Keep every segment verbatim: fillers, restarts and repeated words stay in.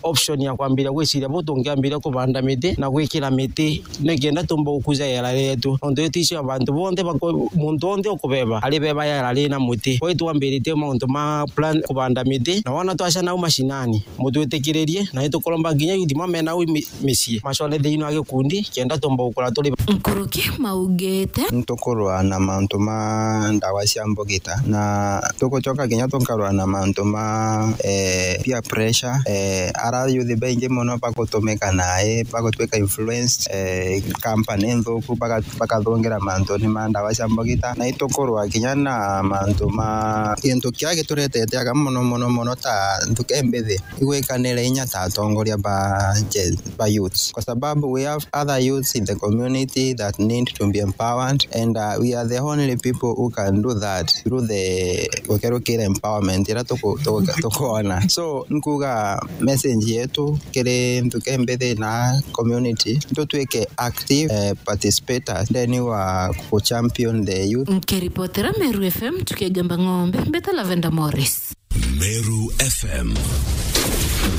option ya kwambiria gwiciria bu tungiambiria kubanda miti na gwikira miti, nikenda tumba gukuja yera rietu. Nontu iticio abantu bonthe bako-, muntu wonthe ukubeba, ari beba yera ri na muti. Kwa hiyo twambiritie mauntu ma plan kubanda miti, na wona twaca nau mashinani, mutwitikiririe, na itukuromba nginya youth mamena u mi-, micii, macone thiini wa gikundi, kenda tumba gukura turi. Nkuruki maugite. Ntukurwa na mauntu ma ndawa cia mbugita, na tugucoka kinya tukarwa na mauntu ma, eh, peer pressure, eh, ara youth baingi mono bagutumika nae, bagutwika influenced, eh, company nthuku, baga-, bakathungira mantuni ma ndawa cia mbugita, na itukurwa kinya na mantu ma gintu kia gituretete aga mono, mono, mono ta nthuke mbithi. Igwikanire inya ta atongoria ba Gen-, ba youths, kwa sababu we have other youths in the community that need to be empowered, and, uh, we are the only people who can do that through the gukerukira empowerment ira tuku-, tuku-, tukuona. So, nkuga message yetu kiri nthuke mbithi na community, tutwike active, eh, participators then wa ku champion the youth. Nkiripotera Meru F M tukigamba ng'ombe, mbeta Lavender Morris. Meru F M.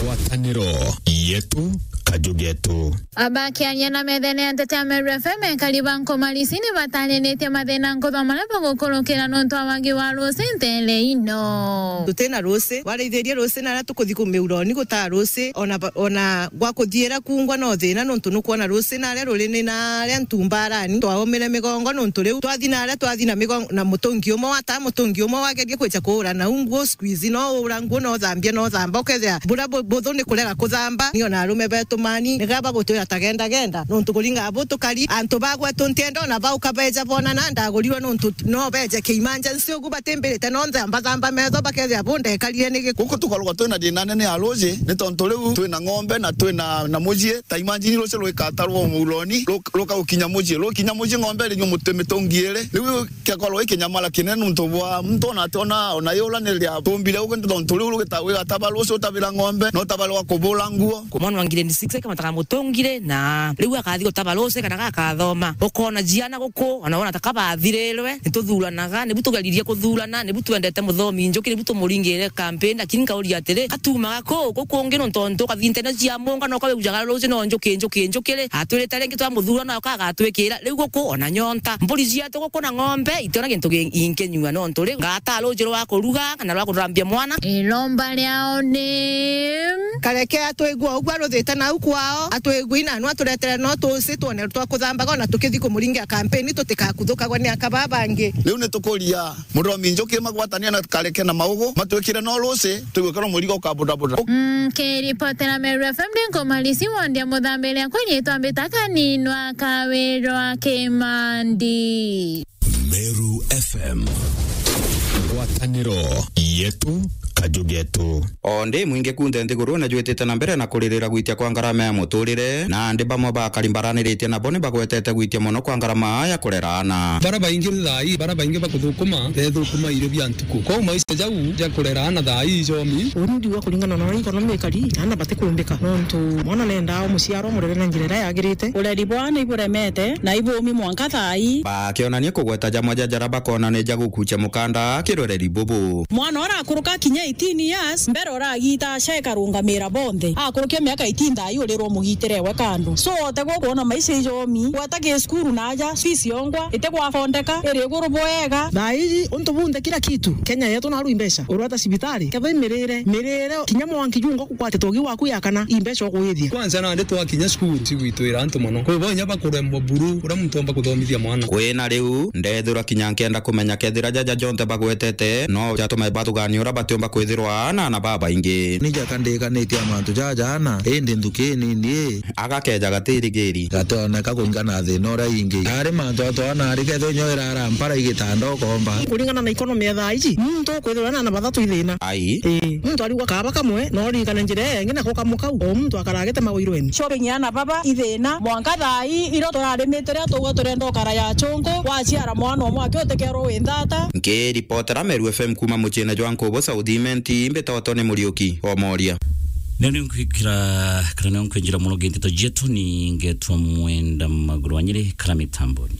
Ngwataniro yetu, kaju getu. Abakiaria na methene ya nteto ya Meru F M, ekari ba Nkomarisi ni batariritie mathina nkuthwa maria bagukurukira nontu wa wagi wa ruuci ntere ino. Tutina ruuci, waraithirie ruuci na aria tukuthi kumiuroni gutaa ruuci, ona ba-, ona gwa kuthiira kungwa no thina, nontu nukwona ruuci na aria ruri ni na aria ntumbarani, twaumire migongo nontu riu twathi na aria twathi na migongo na mutungi umwe wata mutungi umwe wageria kwicha kuura nau nguo, siku ici no uura nguo, no uthambia, no uthamba, ukethira buria bu-, buthu ni kurega kuthamba. Ni ona arume betu mani, niga bagutwira ta genda, genda, nontu kuringa bu tukari, antu ba gwetu ntienda ona bau kabeja bonana, ndagurirwe nontu no beje ki emergency ugu batimbirite, no nthamba thamba metho, bakethira bu ndekarire ni giku. Guku tukoragwa twina thina nene ya ruuji, ni tontu riu twina ng'ombe na twina na mucii. Ta imagine ruuji rwikatarwa muuroni, ru-, ruka gukinya mucii, rukinya mucii ng'ombe irinyua muti mitungi iri. Riu kiakorwo i kinyamara kinene nontu bwa muntu ona ati ona, ona yuraniria tumbire ugu, nontu riu rugita-, wigataba ruuji utabira ng'ombe, na utabira wa kubura nguo. Mwana wa grade six akamataga mutungire, na riu akathi gutaba ruuji kana gakathoma. Ukona ciana guku, ona wona ta kabathirirwe, nituthuranaga, nibu tugeririe kuthurana, nibu twendete muthomi njuki, nibu tumuringire campaign, lakini nkauria atiri, katumaga ku, ku kungi nontu, nontu ukathi ntene cia munga, no kawe ujaga ruuji no njuki, njuki, njuki ri, atwirite ringi twamuthura, no kagatwikira, riu guku ona nyonta. Mburi cietu guku na ng'ombe, itiona gintu gi-, inkinyua, nontu ri, ngata ruuji rwa kuruga, kana rwa kuthambia mwana. Iromba riao ni Kareke atwigua uguo aruthite nau kwao, atwigui nanu aturetere no tuuci twone twa kuthambaga ona tukithi kumuringia kampeni tutikakuthukagwe ni aka babangi. Riu ni tukuria muthomi njuki magwatania na Kareke na Maugu matwikire no ruuci, twigue kana murigo ukabudabuda. Nkiripotera Meru F M ndi Nkomarisi wondia muthambire akwinyitwa mbita kaninwa kawirwa Kimandi. Meru F M. Ngwataniro yetu, kaju getu. O ndi mwingi kunthe nthigurune jwitite na mbere na kuririra gwitia kwa ngarama ya muturire, na andi bamwe bakari mbaraniritie nabo ni bagwetete gwitia mono kwa ngarama ya kurera aana. Bara baingi thaa ii, bara baingi bakuthukuma, bethukuma irio bia ntuku. Kwou maisha jau ja kurera aana thaa ii jomi. Uni ndiuga kuringana na uria economy ikari, aana batikumbika. Nontu mwana nendaa umuciarwa murere na njira iria yagirite. Ureri bwa aana iburemete, na ibumi mwanka thaa ii. Bakionania kugweta jamwe ja jara bakona ni ja gukucha mukanda kiroreri bubu. Mwana ura akuruka kinya eighteen years, mbere uragita aca ikarungamira bonthe. Akurukia miaka eighteen thaa ii urirwo mugitire we kando. So, otegwo kwona maisha ijomi, gweta gi cukuru na aja, fees yongwa, itegwa fondeka, iri iguru bwega. Thaa ii, untu bunthe kila kitu, Kenya yetu naru imbeca. Urwata cibitari, kethwa imirire, mirire, kinya mwanki jungo kukwate togi waku ya kana, imbeca ukuithia. Kwanza nandi twakinya cukuru, cigwitwira antu mono. Kwi bo inya bakuremwa buru, uria muntu omba kuthomithia mwana. Kwina riu, ndethirwa kinya nkenda kumenya kethira jaja jonthe bagwetete, no jatume bathugania uria batiumba kwithirwa na aana babaingi. Ni jaka ndikanitie a mantu jaja ana, indi nthuki nini ii. Agakeja gatirigiri. Gationeka kuringana na thina uria ingi. Ari mantu atwana ari kethwa inya irara mpara igitanda ukomba. Kuringana na economy ya thaa iji, muntu ukwithirwa na aana bathatu ithina. Ai. Ii, muntu arigwa kaaba kamwe, no ririkane njira iyo ingi nako kamwe kau, o muntu akara agitemagwa irweni. Shopping ya aana baba ithina, mwanka thaa ii, irio turarimitire, tugwe turenda ukara ya chungu, waciara mwana umwe aki utekerwo wi nthata. Nkiripotera Meru F M kuma muciine jwa Nkubu South Imenti, mbitagwa Tony Muriuki wa Moria. Nio ni nkwikira, kana nio nkwinjira muno gi nteto cietu, ni ngetwa Mwenda Maguru wa Nyiri, kara mitamboni.